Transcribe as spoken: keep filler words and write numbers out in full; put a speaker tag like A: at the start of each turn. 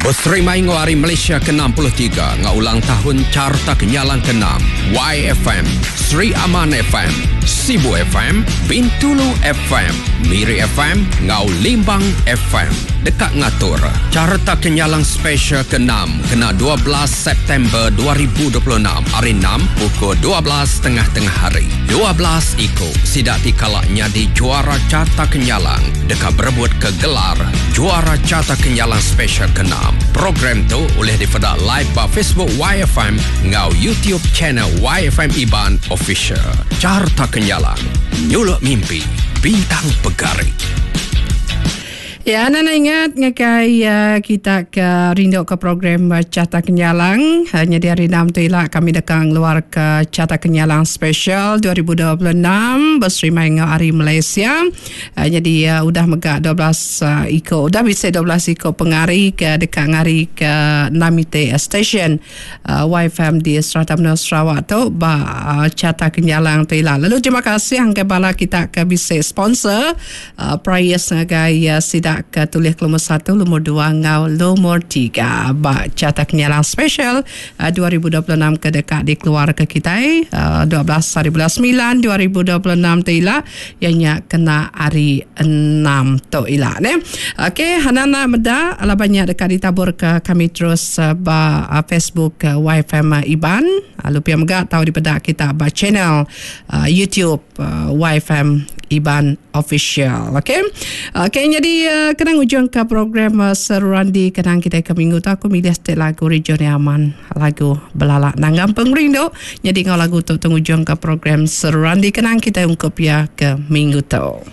A: Beserimai ngau Hari Malaysia ke enam puluh tiga ngau ulang tahun Carta Kenyalang ke enam, Y F M, Sri Aman F M, Sibu F M, Bintulu F M, Miri F M ngau Limbang F M. Dekat ngatur Carta Kenyalang Special ke enam kena dua belas September dua ribu dua puluh enam hari enam pukul dua belas tengah-tengah hari. dua belas iko sidak dikalak nyadi juara Carta Kenyalang dekat berebut ke gelar juara Carta Kenyalang Special ke enam. Program tu boleh dipedak live ba Facebook Y F M ngau YouTube channel Y F M Iban Official. Carta Kenyalang, nyuluk mimpi, bintang pegari.
B: Ya, anda nak ingat ngakai uh, kita ke rindu ke program uh, Carta Kenyalang. Hanya di hari enam tu ialah kami dekang luar ke Carta Kenyalang Special dua ribu dua puluh enam berserimai dengan Hari Malaysia. Uh, jadi uh, udah megak dua belas uh, iko, udah bisa dua belas iko pengari ke dekat ngari ke Namite Station uh, Y F M di Serata Menua Sarawak tu ba uh, Carta Kenyalang tu ialah. Lalu terima kasih angkai bala kita ke bisa sponsor uh, prize ngagai uh, sidak ke tulis ke lumur satu, lumur dua, ngau lumur tiga. Ba Carta Kenyalang Special uh, dua ribu dua puluh enam ke dekat dikeluar ke kita, uh, dua belas hari bulan sembilan dua ribu dua puluh enam tu ila ianya kena hari enam tu ila ne. Okey, Hanana meda ala banyak dekat ditabur ke kami terus uh, ba uh, Facebook uh, Y F M Iban. Lalu pia mega tahu dipedak kita ba channel uh, YouTube uh, Y F M Iban Official. Okey. Okey, jadi uh, kenang ujung ke program uh, Seruran di kenang kita ke minggu tu aku milih setiap lagu Region Aman, lagu Belalak Nanggam Pengrindu. Jadi ngau lagu tu tunggu ujung ke program Seruran di kenang kita ungkup ya ke minggu tu.